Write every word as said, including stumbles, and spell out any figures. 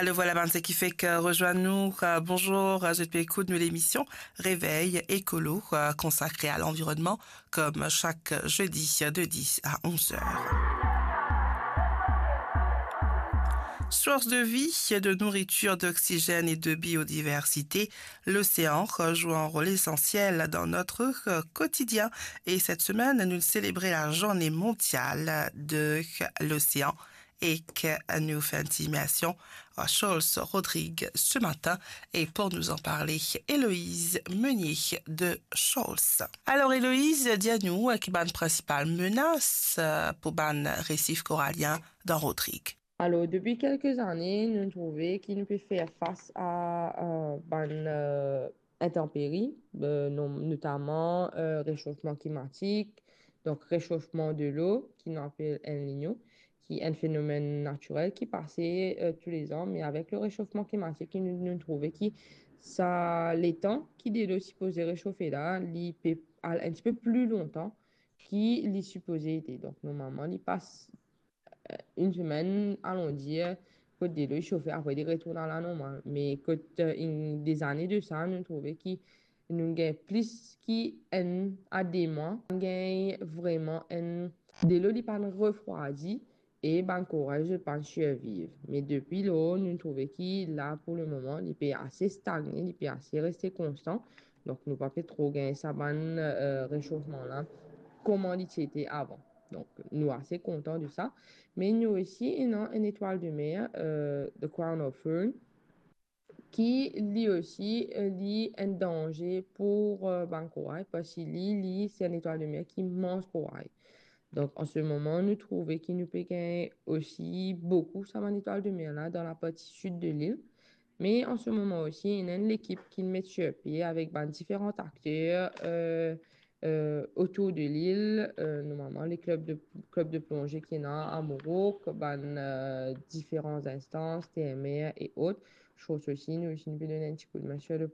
Le vwala bann seki fek rezwenn nou. Euh, bonzour, euh, zot pe ekout nou lemision Réveil Écolo, euh, konsakre a lanvironnman, kom sak zedi de dis a onz er. Source de vie, de nourriture, d'oxygène et de biodiversité, l'océan joue un rôle essentiel dans notre quotidien. Et cette semaine, nous célébrons la journée mondiale de l'océan ek nou fer enn ti imersion ar Shoals Rodrig se matin. Et pour nous en parler, Héloïse Meunier de Shoals. Alors Héloïse, dir nou, euh, ki bann prinsipal menas, euh, pou bann resif koralien dan Rodrig? Alors, depuis quelques années, nous trouvons que nous pouvons faire face à, euh, bann, euh, intempéries, euh, non-, notamment, euh, réchauffement climatique, donc réchauffement de l'eau, qui nous appelle El Niño, qui est un phénomène naturel qui passe, euh, tous les ans, mais avec le réchauffement climatique, nous, nous trouvons que ça, le tan ki delo sipoze resofe la, li pe al un petit peu plus longtemps ki li sipoze ete. Donk, normalman, li pas, euh, enn semenn, alon dir, kot delo li sofe, apre li retourn a la normal. Me kot, euh, enn, de zane de sa, nou trouve ki nou gagn plis ki enn a de mwa, nou gagn vreman enn delo li pa'nn refrwadi e bann koray zot pa'nn sirviv. Me depi lor, nou trouve ki la, pou le moman, li pe ase stagne, li pe ase reste konstan. Donk, nou pa pe tro gagn sa bann, euh, resofman la, kouma li ti ete avan. Donk, nou ase kontan de sa. Me nou osi, ena enn etwal de mer, euh, the crown of fern, ki li osi, euh, li enn danze pou, euh, bann koray, parski li, li, se enn etwal de mer ki manz koray. Donk, an se moman, nou trouve ki nou pe gagn osi boukou sa bann etwal de mer la dan laparti sid de lil. Me an se moman osi, ena enn lekip ki met sir pie avek bann diferan akter, euh, euh, otour de lil, euh, normalman, le club de, club de plongée ki ena a Mourouk, bann, euh, diferan instans, T M R et autres. Shoals osi, nou osi, nou pe donn enn ti koudmin sir le,